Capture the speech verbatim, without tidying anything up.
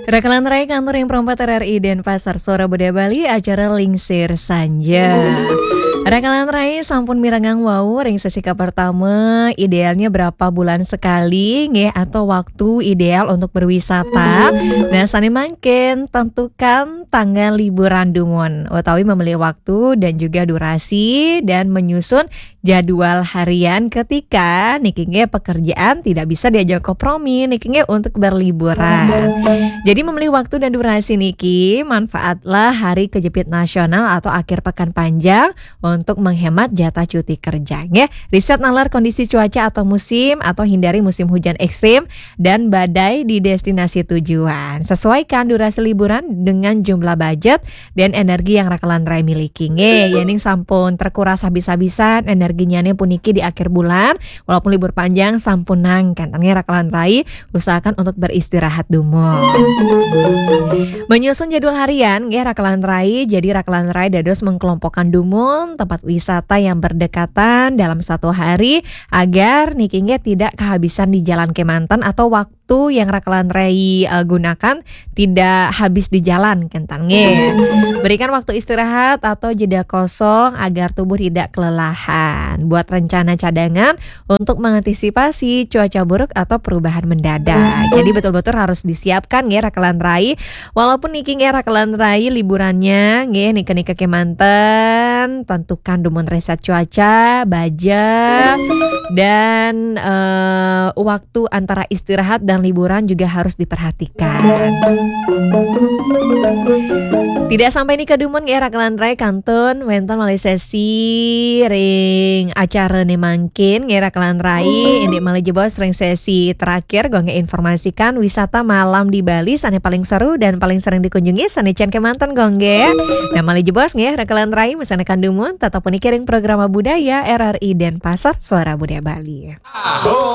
Rakalan rai kantor yang perempat R R I Denpasar, Suara Budaya Bali, acara Lingsir Sanja. Rakalan rai sampun mirengang wau ring sesi ka pertama, idealnya berapa bulan sekali, nggih, atau waktu ideal untuk berwisata. Nah, sane mangkin tentukan tanggal liburan dumun, utawi memilih waktu dan juga durasi dan menyusun jadwal harian ketika niki nggih pekerjaan tidak bisa diajak kompromi niki nggih untuk berliburan. Jadi memilih waktu dan durasi niki manfaatlah hari kejepit nasional atau akhir pekan panjang untuk menghemat jatah cuti kerja nggih. Riset nalar kondisi cuaca atau musim atau hindari musim hujan ekstrim dan badai di destinasi tujuan. Sesuaikan durasi liburan dengan jumlah budget dan energi yang rakalan rai miliki. Nggih, yening sampun terkuras habis-habisan energinya nih puniki di akhir bulan, walaupun libur panjang sampunang, kenten nggih rakalan rai usahakan untuk beristirahat dumun. Menyusun jadwal harian nggih rakalan rai, jadi rakalan rai dados mengkelompokkan dumun tempat wisata yang berdekatan dalam satu hari agar niki nggih tidak kehabisan di jalan kemanten atau waktu yang rakalan rai eh, gunakan tidak habis di jalan kenten nggih. Berikan waktu istirahat atau jeda kosong agar tubuh tidak kelelahan. Buat rencana cadangan untuk mengantisipasi cuaca buruk atau perubahan mendadak. Jadi betul-betul harus disiapkan nggih rakalan rai. Walaupun niki nggih rakalan rai liburannya nggih nika-nika kemanten, tentukan dumun riset cuaca, budget, dan eh, waktu antara istirahat dan liburan juga harus diperhatikan. Tidak sampai nika dumun nggih rakalan rai kantun wenten malih sesi ring acara ne mangkin nggih rakalan rai indik malih jebos ring sesi terakhir gua nggih informasikan wisata malam di Bali sane paling seru dan paling sering dikunjungi sane cen kemanten gua nggih. Nah malih jebos nggih rakalan rai mesenekan dumun tetap puniki ring programa budaya R R I Denpasar Suara Budaya Bali.